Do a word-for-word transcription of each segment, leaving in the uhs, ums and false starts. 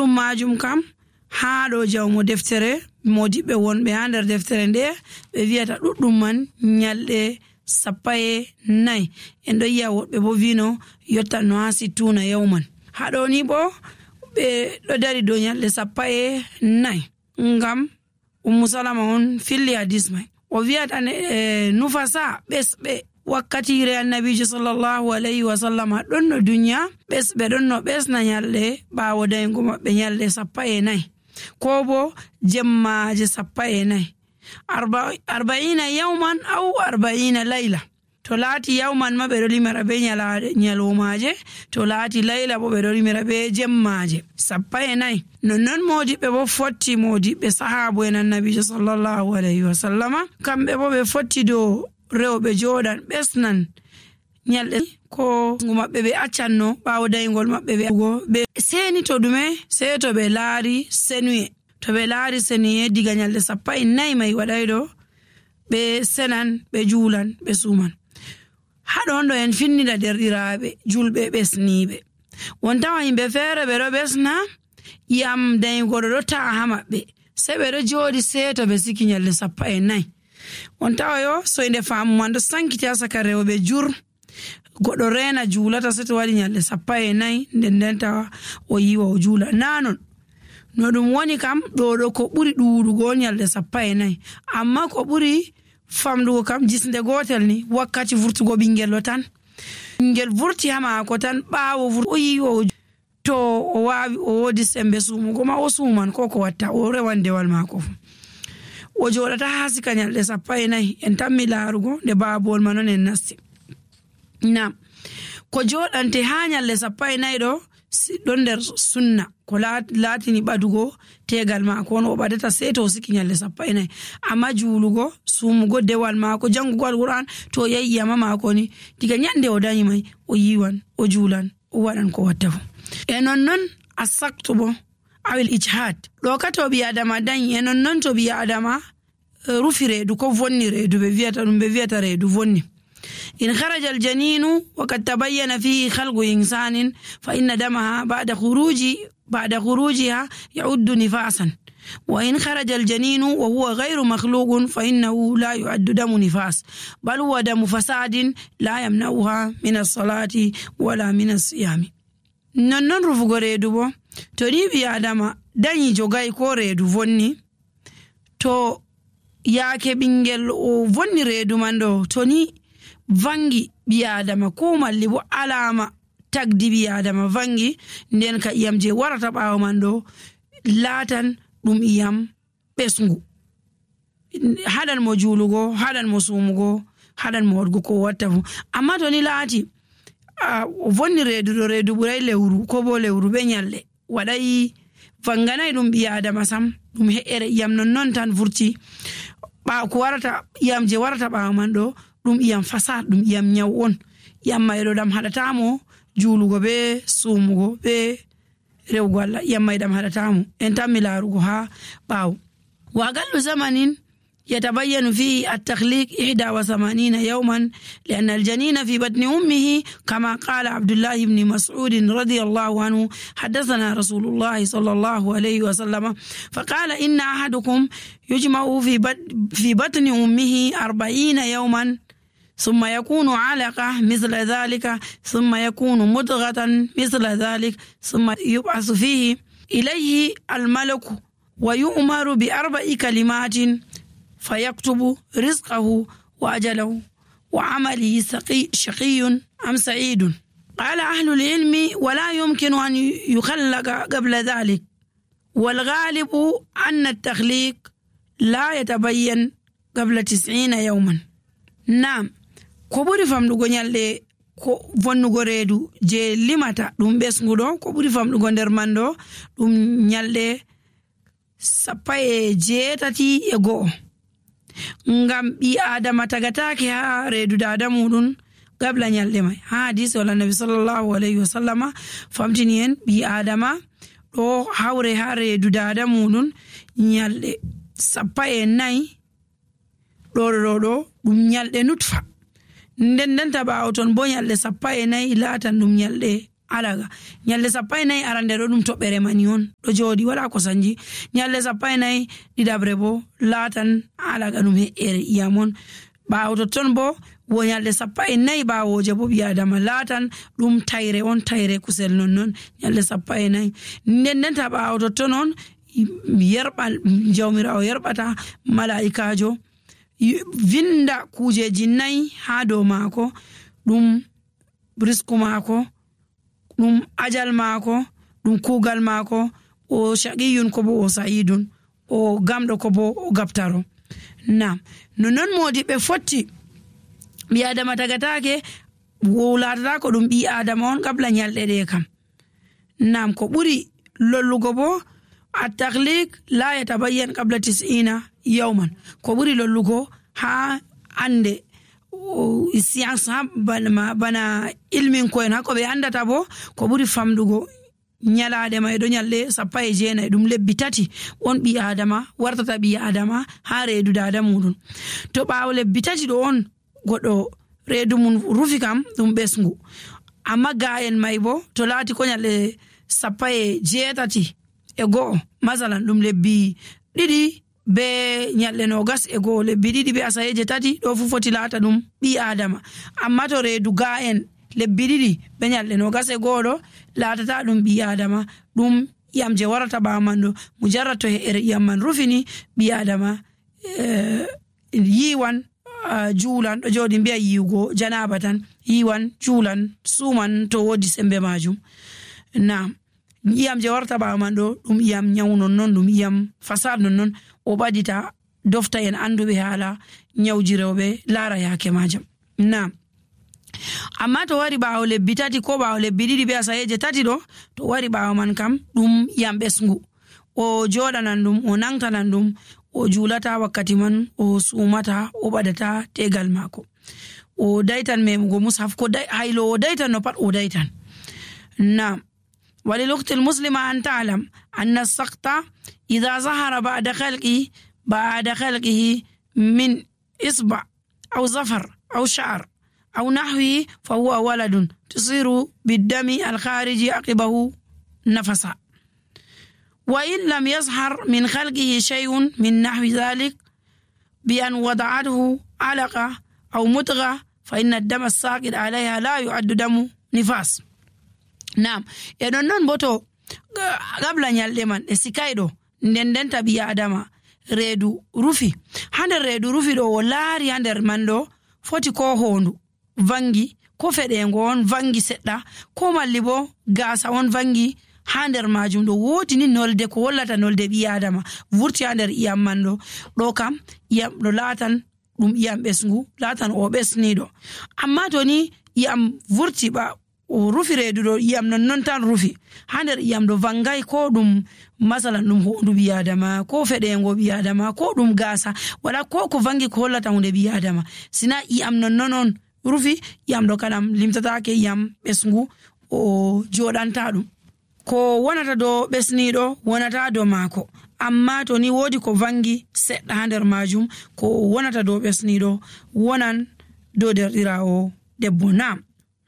ɓurɗum majum kam haa ɗo jawmo deftere modiɓɓe wonɓe haa nder deftere nde ɓe wiyata ɗuɗɗum man nyalɗe sappo e nayi. En ɗo yi'a woɓɓe bo wino yottan no haa sittuna yawman. Haɗo ni bo ɓe ɗo dari dow nyalɗe sappo e nayi ngam Ummu Salama on filli hadis mai. O wiyata e nufasa ɓesɓe wakkatire annabijo sallallahu alayhi wa sallam ɗon no duniya ɓesɓe ɗon no ɓesna nyalɗe ɓaawo daygo maɓɓe nyalɗe sappo e nayi ko bo jemmaje sappo e nayi. arba'ina yawman aw arba'ina layla. To laati yawman ma ɓe ɗo limira be nyalomaje, to laati layla bo ɓe ɗo limira be jemmaje sappo e nayi. Nonnon modiɓɓe bo fotti modiɓɓe sahabu en annabijo sallallahu alayhi wa sallama kamɓe bo ɓe fotti dow rewɓe joɗan ɓesnan nyalɗe ko maɓɓe ɓe accanno ɓaawo daygol maɓɓe ɓe seni to ɗume sey to ɓe laari senuye. To ɓe laari senuye diga nyalɗe sappo e nayi mai waɗay ɗo ɓe senan ɓe juulan ɓe suman. Haɗon ɗo en finnida derɗiraaɓe julɓe ɓesniiɓe. Won tawa yimɓe feere ɓe ɗo ɓesna yam daygoɗo ɗo ta'a ha maɓɓe sey ɓe ɗo jooɗi seeto ɓe siki nyalɗe sappo e nayi. On tawa yo soyde faamu man ɗo sankiti ha saka rewɓe jur goɗɗo reena juulata sei to waɗi nyalɗe sappo e nayi nden nden tawa o yiwa o juula. Nanon no ɗum woni kam ɗo ɗo ko ɓuri ɗuuɗugo nyalɗe sappo e nayi, amma ko ɓuri famɗugo kam jisnde gotel ni wakkati vurtugo ɓingel lo tan. Ɓingel vurti ha maako tan ɓaawo vurti o yiwa o to o waawi o woodi sembe suumugo ma o suuman ko ko watta o rewan dewal maako fu. O joɗata haa sika nyalɗe sappo e nayi. En tammi laarugo nde baabol ma non en nasti. Nam ko joɗante haa nyalɗe sappo e nayi ɗo ɗon nder sunna ko laatini ɓadugo tegal maako on o ɓadata sey to o siki nyalɗe sappo e nayi. Amma juulugo suumugo dewal maako jangugo alquran to yahi yama maako ni diga nyande o dañi mai o yiwan o juulan o waɗan ko watta fu. E nonnon asaktu bo awil ijhad ɗo ka to ɓi adama dañi e nonnon to ɓi adama rufi reedu ko vonni reedu ɓe wiyata ɗum ɓe wiyata reedu vonni. إن خرج الجنين وقد تبين فيه خلق إنسان فإن دمها بعد خروج بعد خروجها يعد نفاسا، وإن خرج الجنين وهو غير مخلوق فإنه لا يعد دم نفاس بل هو دم فساد لا يمنعها من الصلاة ولا من الصيام. نون رفغو ريدو بو تو ني بي آدم داني جوغاي كو ريدو vonni to yaake ɓingel o vonni reedu man ɗo to ni vangi ɓi adama ko malli bo alama tagdi ɓi adama vangi nden ka iyam je warata ɓaawo man ɗo laatan ɗum iyam ɓesngu haɗan mo juulugo haɗan mo suumugo haɗan mo waɗgo ko watta fu. Amma to ni laati o vonni reedu ɗo reedu ɓuray lewru ko bo lewru ɓe nyalɗe waɗay vanganay ɗum ɓi adama sam ɗum he'ere iyam non non tan vurti ɓaawo ko warata iyam je warata ɓaawo man ɗo ɗum iyam fasad ɗum iyam nyaw on iyam mayɗo ɗam haɗatamo juulugo be suumugo be rewgo Allah iyam may ɗam haɗatamo. En tammi laarugo ha ɓaawo wa aqallu zamanin يتبين فيه التخليق إحدى وثمانين يوما لأن الجنين في بطن أمه كما قال عبد الله بن مسعود رضي الله عنه حدثنا رسول الله صلى الله عليه وسلم فقال إن أحدكم يجمع في بطن أمه أربعين يوما ثم يكون علقة مثل ذلك ثم يكون مضغة مثل ذلك ثم يبعث فيه إليه الملك ويؤمر بأربع كلمات فيكتب رزقه وأجله وعمله شقي أم سعيد. قال أهل العلم ولا يمكن أن يخلق قبل ذلك، والغالب أن التخليق لا يتبين قبل تسعين يوما. نعم ko ɓuri famɗugo nyalɗe ko vonnugo reedu je limata ɗum ɓesnguɗo ko ɓuri famɗugo nder man ɗo ɗum nyalɗe sappo e jeetati e go'o ngam ɓi adama tagatake ha reedu dada muɗum gabla nyalɗe mai. Ha hadisi wala nabi sallallahu alayhi wa sallama famtini en ɓi adama ɗo hawre ha reedu dada muɗum nyalɗe sappo e nayi ɗo ɗo ɗo ɗum nyalɗe nutfa nden nden ta ɓaawo ton bo nyalɗe sappo e nayi laatan ɗum nyalɗe alaga nyalde sappo e nayi arande ɗo ɗum toɓɓere mani on ɗo jooɗi wala ko sanji. nyalde sappo e nayi ɗiɗaɓre bo laatan alaga ɗum he'ere iyam on. ɓaawo totton bo wo nyalde sappo e nayi ɓaawoje bo ɓi adama laatan ɗum tayre on, tayre kusel nonnon nyalde sappo e nayi. nden ndenta ɓaawo totton on yerɓal jawmirawo yerɓata mala'ikajo vinda kujeji nayi ha dow maako, ɗum risku maako, ɗum ajal maako, ɗum kuugal maako, o shaqiyun ko bo o sa'idun, o gamɗo ko bo o gaftaro. Nam nonnon modiɓɓe fotti ɓi adama tagatake wulatata ko ɗum ɓi adama on qabla nyalɗe ɗe kam. nam ko ɓuri lollugo bo at-takhliq la yatabayyan qabla tis'ina yawman, ko ɓuri lollugo ha ande science ha bana, bana ilmin koyen ha ko ɓe andata bo ko ɓuri famdugo nyalade may ɗo nyalɗe sappo e jeenayi ɗum lebbi tati on ɓi adama wartata ɓi adama ha reedu dada muɗum. to ɓaawo lebbi tati ɗo on goɗɗo reedu mum rufi kam ɗum ɓesngu, amma ga'en may bo to laati ko nyalɗe sappo e jeetati e go'o masalan ɗum lebbi ɗiɗi be nyalɗe nogas e go'o, lebbi ɗiɗi be asayeje tati ɗo fu foti laata ɗum ɓi adama. amma to reedu ga'en lebbi ɗiɗi be nyalɗe nogas e go'o ɗo laatata ɗum ɓi adama, ɗum iyam je warata ɓaawo man ɗo mujarrad to he'ere iyam man rufini ɓi adama eh, yiwan uh, juulan ɗo jooɗi mbiya yiwugo janaba tan, yiwan juulan suman to wodi sembe majum. nam iyam je warta ɓaawo man ɗo ɗum iyam nyawu nonnon, ɗum iyam fasad nonnon, o ɓadita dofta en anduɓe haala nyawji rewɓe laara yaake majum. nam amma to wari ɓaawo lebbi tati ko ɓaawo lebbi ɗiɗi be asayeje tati ɗo, to wari ɓaawo man kam ɗum iyam ɓesngu, o joɗanan ɗum, o nangtanan ɗum, o juulata wakkati man, o sumata, o ɓadata tegal maako, o daytan memugo mushaf, ko haylo o daytan no pat o daytan. nam وللأخت المسلمة أن تعلم أن السقط إذا ظهر بعد خلقه بعد خلقه من إصبع أو ظفر أو شعر أو نحوه فهو ولد تصير بالدم الخارج عقبه نفسا. وإن لم يظهر من خلقه شيء من نحو ذلك بأن وضعته علقة أو مضغة فإن الدم الساقط عليها لا يعد دم نفاس. nam e non non boto gabla nyalde man e sikaydo nden den tabi adama reedu rufi hander reedu rufi do o laari hander man do foti ko hondu vangi ko fedengo on vangi sedda ko malli bo gasa on vangi hander majum do woti ni nolde ko wallata nolde bi adama vurti hander iyam man do do kam iyam do latan dum iyam besngu latan o besnido. amma to ni iyam vurti ba o rufi reedu ɗo iyam non non tan rufi ha nder iyam ɗo vangay ko ɗum masalan ɗum hondu ɓi adama ko feɗengo ɓi adama ko ɗum gasa wala ko ko vangi ko hollata hunde ɓi adama, sina iyam non non on rufi iyam ɗo kadam limtatake iyam ɓesngu o joɗanta ɗum, ko wonata do ɓesniɗo wonata do maako. amma to ni wodi ko vangi seɗɗa ha nder majum ko wonata do ɓesniɗo wonan do derɗirawo debbo. nam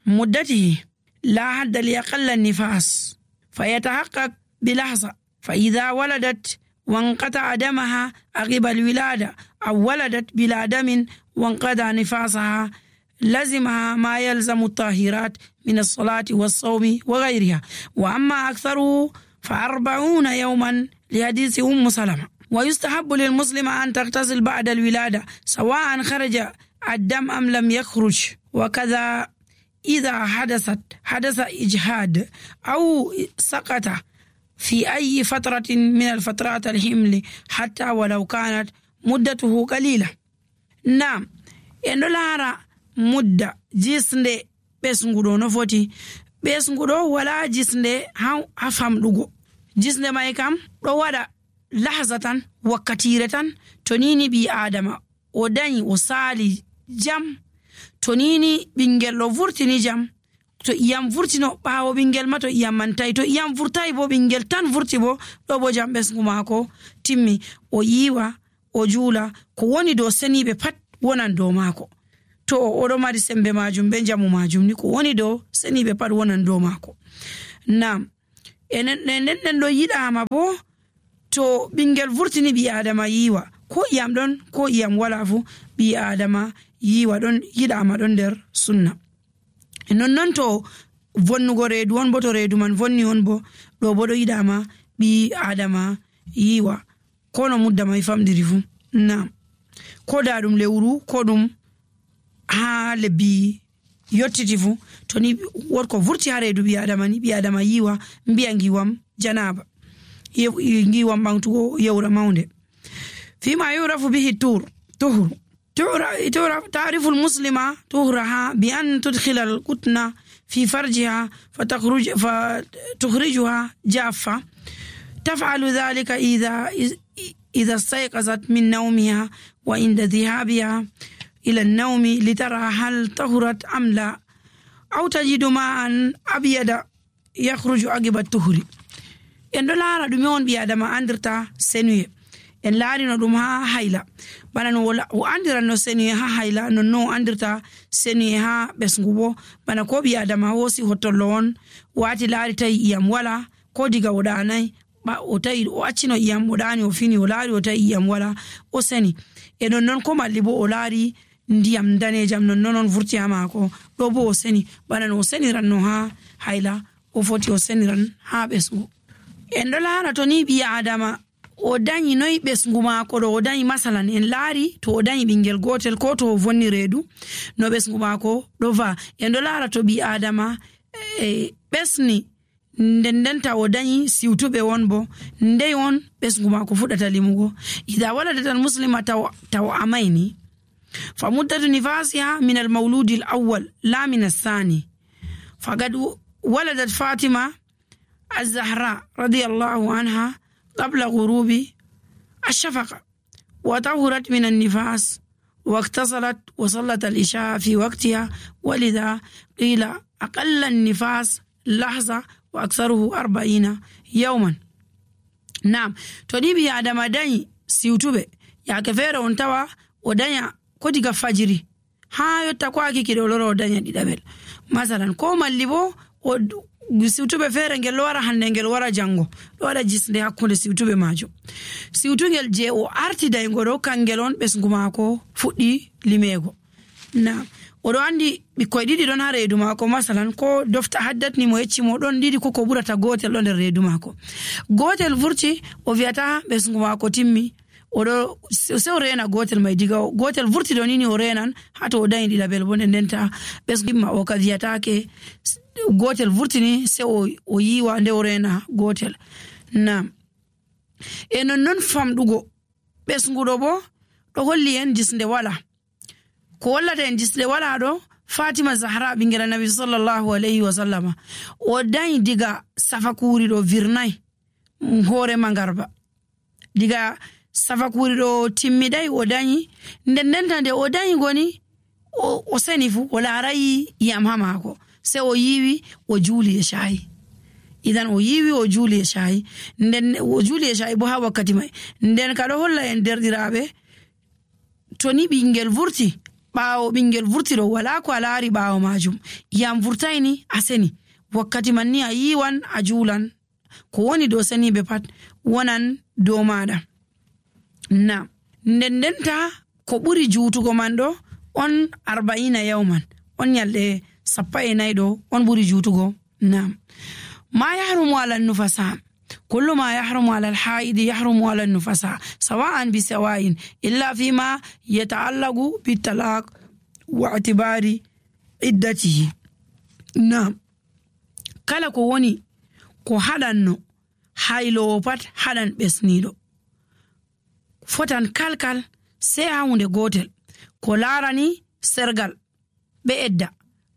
مدته لا حد لأقل النفاس فيتحقق بلحظة، فإذا ولدت وانقطع دمها عقب الولادة أو ولدت بلا دم وانقطع نفاسها لزمها ما يلزم الطاهرات من الصلاة والصوم وغيرها، وأما أكثره فأربعون يوما لحديث أم سلمة. ويستحب للمسلم أن تغتسل بعد الولادة سواء خرج الدم أم لم يخرج، وكذا إذا حدثت حدث إجهاد أو سقط في أي فترة من الفترات الحمل حتى ولو كانت مدته قليلة. نعم إنه مدة جسند بسنغدو نفوتي بسنغدو ولا جسند هفهم لغو جسند ما يكام رواد لحظة وكتيرة تنيني بي آدم وداني وصالي جم tonini bingel lo vurtini jam to iyam vurtino bawo bingel ma to iyam mantai to iyam vurtai bo bingel tan vurti bo do bo jam besngu mako timmi o yiwa o jula ko woni do senibe pat wonan do mako to o do mari sembe majum be jamu majum ni ko woni do senibe pat wonan do mako. nam enen nden ɗo yiɗama bo to ɓingel vurtini ɓi adama yiwa ko iyam ɗon ko iyam wala fu ɓi adama yiwa ɗon yiɗama ɗon nder sunna. nonnon to vonnugo reedu on bo to reedu man vonni on bo ɗo bo ɗo yiɗama ɓi adama yiwa ko no mudda mai famɗiri fu. nam ko da ɗum lewru ko ɗum ha lebbi yottiti fu to ni wotko vurti ha reedu ɓi adama ni ɓi adama yiwa mbiya ngiwam janaba ngiwam ɓamtugo yewra maunde. fima yurafu bihi tur tuhru تعرف المسلمة طهرها بأن تدخل القطن في فرجها فتخرج فتخرجها جافة. تفعل ذلك إذا إذا استيقظت من نومها وعند ذهابها إلى النوم لترى هل طهرت أم لا، أو تجد ماء أبيض يخرج عقب الطهر. إن دولار دميون بيادما أندرتا سنوي en laarino ɗum ha hayla bana no o andira no seni ha hayla no no andirta seni ha ɓesgu bo bana ko ɓi adama hosi hottollo on wati laari tawi iyam wala ko diga o ɗanayi o tawi o accino iyam o ɗani o fini o laari o tawi iyam wala o seni e nonnon ko malli bo o laari ndiyam danejam nonnon on vurti ha maako ɗo bo o seni bana no o seniran no ha hayla o foti o seniran ha ɓesgu. en ɗo laara to ni ɓi adama o dañi noyi ɓesgu maako ɗo o dañi masalan en laari to o dañi ɓingel gotel ko to o vonni reedu no ɓesgu maako ɗo va en ɗo laara to ɓi adama e ɓesni nden ndenta o dañi siwtuɓe won bo ndey on ɓesgu maako fuɗata limugo. ida waladatan muslima taw taw amayni fa muddatu nifasiha min al mawludi al awwal la min athani faqad waladat fatima az-zahra radiyallahu anha قبل غروب الشفق وطهرت من النفاس واغتسلت وصلت العشاء في وقتها، ولذا قيل أقل النفاس لحظة وأكثره أربعين يوما. نعم تنبي عدم داني سيوتوبة يا كفير وانتوا ودانيا كوديك فجري ها يتقواكي كده ولورو ودانيا دي دابل مثلا كوما الليبو siwtuɓe feere ngel wara hande ngel wara jango ɗo waɗa jisde hakkunde siwtuɓe majum. siwtugel je o arti daygo ɗo kangel on ɓesgu maako fuɗɗi limego. na oɗo andi ɓikkoye ɗiɗi ɗon ha reedu maako masalan ko dofta haddatni mo yeccimo ɗon ɗiɗi koko ɓurata gotel ɗo nder reedu maako gotel vurti o wiyata ɓesgu maako timmi oɗo se o rena gotel mai diga gotel vurti ɗo nini o renan hato o dañi ɗiɗaɓel bo nden ndenta ɓesgu ma o ka wiyatake gotel vurtini se o, o yiwa nde o rena gotel. nam e nonnon famɗugo ɓesguɗo bo ɗo holli en jisde wala ko wallata en jisde wala ɗo fatima zahra ɓingel nabi sallallahu alayhi wa sallama o dañi diga safakuri ɗo virnayi hoore mangarba diga safakuri ɗo timmiɗay o dañi nden ndenta nde o dañi goni o, o seni fu o laarayi iyam ha maako se o yiwi o juuli e shayi. idan o yiwi o juuli e shayi nden o juuli e shayi bo ha wakkati mai nden ka ɗo holla en derɗiraɓe to ni ɓingel vurti ɓaawo ɓingel vurti ɗo wala ko a laari ɓaawo majum iyam vurtayni a seni wakkati man ni a yiwan a juulan ko woni dow seniɓe pat wonan dow maɗa. na nden ndenta ko ɓuri juutugo man ɗo on arba'ina yawman on nyalɗe sappa e nayi ɗo on ɓuri juutugo. nam ma yahrumu ala nufasa kullu ma yahrumu ala alhaidi yahrumu ala nufasa sawa'an bi sawa'in illa fima yata'allaqu bitalaq wa i'tibari iddatihi. nam kala ko woni ko haɗanno haylowo pat haɗan ɓesniɗo fotan kalkal sey ha hunde gotel ko laarani sergal ɓe edda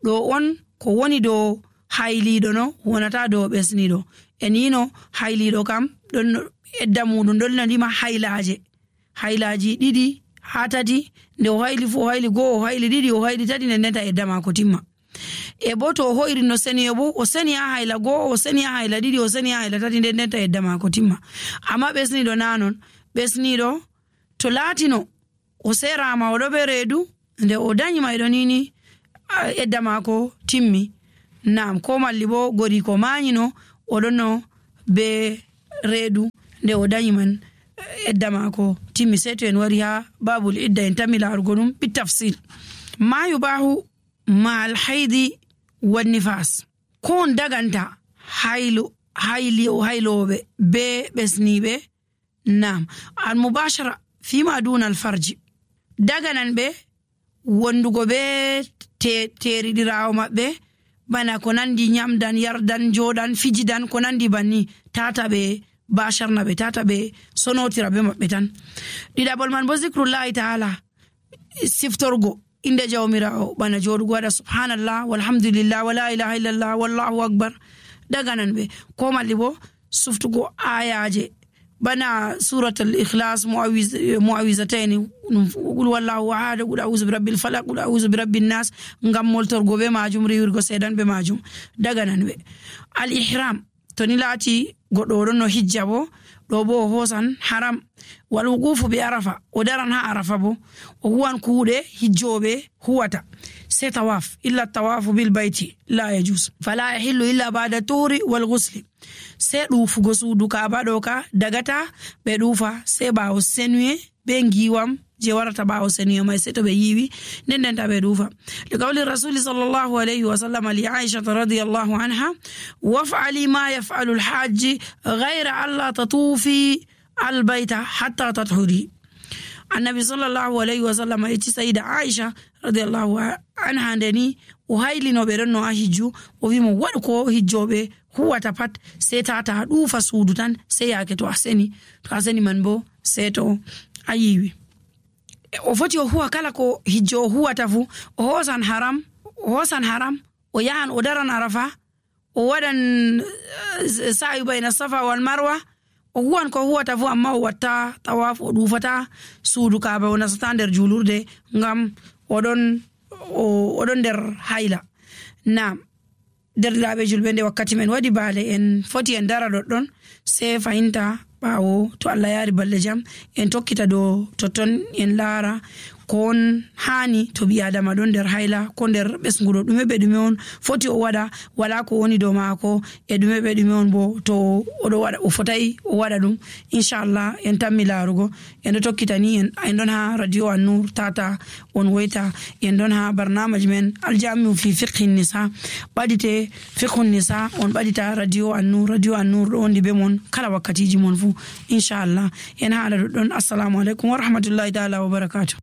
ɗo on ko woni dow hayliɗo no wonata dow ɓesniɗo en yino hayliɗo kam ɗon edda muɗum ɗon nandima haylaje haylaji ɗiɗi ha tati nde o hayli fu o hayli go'o o hayli ɗiɗi o hayli tati nden ndenta edda mako timma. e bo to o hoyri no seniyo bo o seni ha hayla go'o o seni ha hayla ɗiɗi o seni ha hayla tati nden ndenta edda mako timma. amma ɓesniɗo nanon ɓesniɗo to laatino o serama oɗo ɓe reedu nde o dañi mayɗo nini edda mako timmi nam ko malli bo gori ko mañino oɗon no be reedu nde o dañi man edda mako timmi. Sey to en wari ha babul idda en tammi larugo ɗum bi tafsil. ma yubahu ma al haidi wan nifas, ko on daganta haylo hayli o hayloɓe be ɓesniɓe. nam al mubashara fima duna al farji, daganan ɓe wondugo be teriɗirawo maɓɓe bana ko nandi nyamdan yardan jodan fijidan ko nandi banni, tata ɓe basharna ɓe, tata ɓe sonotira be maɓɓe tan. ɗiɗaɓol man bo zikrullahi ta'ala, siftorgo inde jawmirawo bana joɗugo waɗa subhanallah walhamdulillah wala ilaha illallah wallahu akbar, daganan ɓe. ko malli bo suftugo ayaje bana suratul ikhlas muawizataini qul wallahu ahad qul a'udhu birabbil falaq qul a'udhu birabbin nas ngam moltorgo be majum riwirgo sedan be majum, daganan ɓe. al ihram to ni laati goɗɗo ɗon no hijja bo ɗo bo o hosan haram. wal wuqufu bi arafa, o daran ha arafa bo o huwan kuuɗe hijjoɓe huwata. se tawaf illa tawafu bil bayti la yajuz fala yahillu illa ba'da tuhri wal ghusli, se ɗufugo suudu kaaba ɗo ka dagata ɓe ɗufa se ɓawo senuye be ngiwam je warata ɓawo senuye mai, se to ɓe yiwi nden denta ɓe ɗufa. li qawli rasuli sallallahu alayhi wa sallam li aisha radiyallahu anha waf'ali ma yaf'alu al-hajj ghayra alla tatufi al-bayta hatta tathuri. annabi sallallahu alayhi wa sallam eti sayida aisha radiyallahu anha ndeni o haylinoɓe ɗon no a hijju, o wimo waɗu ko hijjoɓe huwata pat, se tata ɗufa suudu tan se yake to a seni, to a seni man bo se to a yiwi. o foti o huwa kala ko hijjo o huwata fu, o hosan haram o hosan haram o yahan o daran arafa, o waɗan sa'i bayna safa wal marwa, o huwan ko huwata fu amma o watta tawaf, o ɗufata suudu kaaba, o nasata nder julurde ngam oɗon oɗon nder hayla. nam derɗiraɓe julɓe nde wakkati men waɗi baale en foti en dara ɗoɗɗon se fahinta ɓawo to Allah yaari balɗe jam en tokkita dow totton en laara ko on hani to ɓi adama ɗon nder hayla ko nder ɓesguɗo ɗume ɓe ɗume on foti o waɗa, wala ko woni dow maako e ɗume ɓe ɗume on bo to oɗo waɗa o fotai o waɗa ɗum. inchallah en tammi laarugo en ɗo tokkita ni en en ɗon ha radio an-nur tata on woyta, en ɗon ha barnamaji men aljamiu fi fiqhi nisa, ɓaɗite fiqhu nisa on ɓaɗita radio an-nur, radio an-nur ɗo wondi be mon kala wakkatiji mon fu inchallah en haala ɗoɗɗon. assalamu aleykum wa rahmatullahi ta'ala wa barakatuh.